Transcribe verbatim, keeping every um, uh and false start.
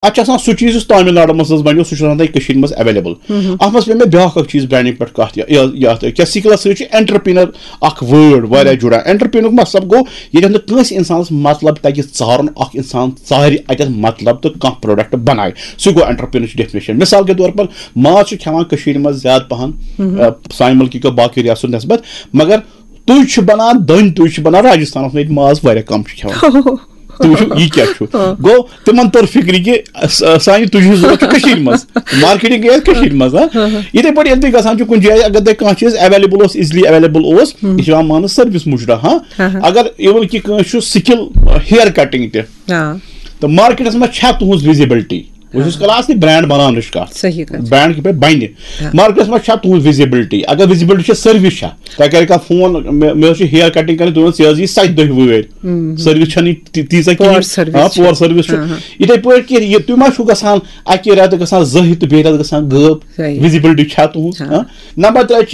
اَتھ چھُ آسان سُہ چیٖز یُس تامِل ناڈوٗ منٛز حظ بَنیو، سُہ چھُ آسان تۄہہِ کٔشیٖرِ منٛز ایویلیبل۔ اَتھ منٛز پیٚیہِ مےٚ بیٛاکھ اَکھ چیٖز برانڈنگ پٮ۪ٹھ کَتھ، یہِ- یہِ- یَتھ کیٛاہ، سِکلَس سۭتۍ چھُ انٹرپرینر اَکھ وٲڈ واریاہ جُڑان۔ انٹرپرینرُک مطلب گوٚو، ییٚتٮ۪تھ نہٕ کٲنٛسہِ اِنسانَس مطلب تَگہِ ژارُن، اَکھ اِنسان ژارِ اَتٮ۪تھ مطلب تہٕ کانٛہہ پروڈکٹ بَنایہِ، سُہ گوٚو انٹرپرینرٕچ ڈیفینیشن۔ مِثال کے طور پر، ماز چھُ کھٮ۪وان کٔشیٖرِ منٛز زیادٕ پَہَن، آ، سانہِ مُلکہِ کیو باقٕے ریاستو نسبت، مگر تُج چھُ بَنان، دٔنۍ تُج چھُ بَنان راجستھانَس منٛز، ییٚتہِ ماز واریاہ کَم چھُ کھٮ۪وان۔ تُہۍ وٕچھِو، یہِ کیٛاہ چھُ؟ گوٚو، تِمن توٚر فِکرِ کہِ س- سانہِ تُجہِ ہٕنٛز ضوٚرتھ چھِ کٔشیٖرِ منٛز، مارکیٹنگ گٔے اَتھ کٔشیٖرِ منٛز، ہاں۔ یِتھے پٲٹھۍ ییٚلہِ تُہۍ گژھان چھِو کُنہِ جایہِ، اگر تۄہہِ کانٛہہ چیٖز ایویلیبل اوس، ایزلی ایویلیبل اوس، یہِ چھُ یِوان ماننہٕ سٔروِس مُجرا، ہاں۔ اگر اِوٕن کہِ کٲنٛسہِ چھُ سِکِل ہیئر کٹنگ تہِ، تہٕ مارکیٹس منٛز چھا تُہنٛز وِزِبلٹی؟ بہٕ چھُس کران اصلی برانڈ بناونٕچ کتھ۔ صحیح کتھ۔ برانڈ کِتھ پٲٹھۍ بنہِ؟ مارکیٹس منٛز چھا تُہنٛز وِزِبلٹی؟ اگر وِزِبلٹی چھِ، سٔروِس چھا؟ تۄہہِ کرِ کانٛہہ فون، مےٚ مےٚ ٲس یہِ ہیئر کٹنگ کرٕنۍ، تُہۍ ؤنِو، ژےٚ ٲس یہِ ستہِ دۄہہِ وٲرۍ۔ سٔروِس چھَنہٕ یہِ تہِ- تیٖژاہ کِہیٖنۍ۔ پور سٔروِس ہاں، چھِ۔ پور سٔروِس چھُ۔ ہاں، ہاں۔ یِتھے پٲٹھۍ کہِ یہِ تُہۍ ما چھُو گژھان اَکہِ رٮ۪تہٕ گژھان زٔہۍ تہٕ بیٚیہِ رٮ۪تہٕ گژھان غٲب؟ صحیح۔ وِزِبلٹی چھا تُہنٛز؟ ہاں۔ ہاں؟ نمبر ترٛےٚ چیٖز،